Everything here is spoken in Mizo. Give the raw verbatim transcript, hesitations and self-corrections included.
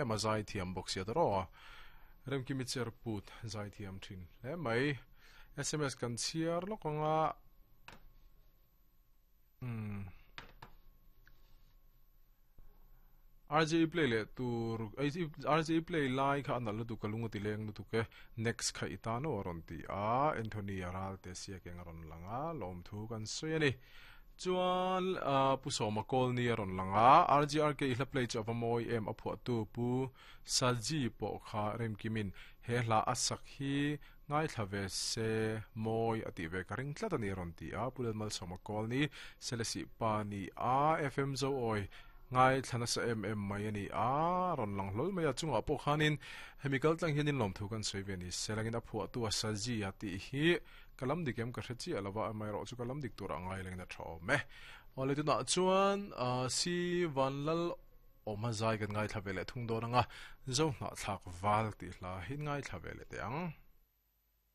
em a zai thiam bawk sia ta rawh a Remkimi Cherput zai thiam thin hle mai S M S kan chhiar lawk anga umm R J play leh tur R J play lai kha a nalh lutuk a lung a ti leng lutuk e next kha i tan aw a rawn ti a Anthony a ral te siak eng a rawn lang a lawmthu kan sawi a ni chuan Pu Sawma Kawlni a rawn lang a R G R K i hla play chu a va mawi em a phuahtu Pu Saji pawh kha Remkimin he hla a sak hi ngaithla ve se mawi a tih ve ka ring tlat a ni a rawn ti a Pu Lalmalsawma Kawlni Selesih pa ni a F M Zoawi Ngaithla nasa em em mai a ni a, rawn lang hlawl mai a, chungah pawh khanin hemi kal tlang hianin lawmthu kan sawi ve ni se langin a phuahtu a Saji a tih hi ka lam dik em ka hre chiah lo va, amaherawh chu ka lam dik turah ngai langin a tha awm e. Awle tunah chuan Si Vanlal awma zai kan ngaithla ve leh thung dawn ang a, Zohnahthlak val tih hla hi ngaithla ve leh teh ang.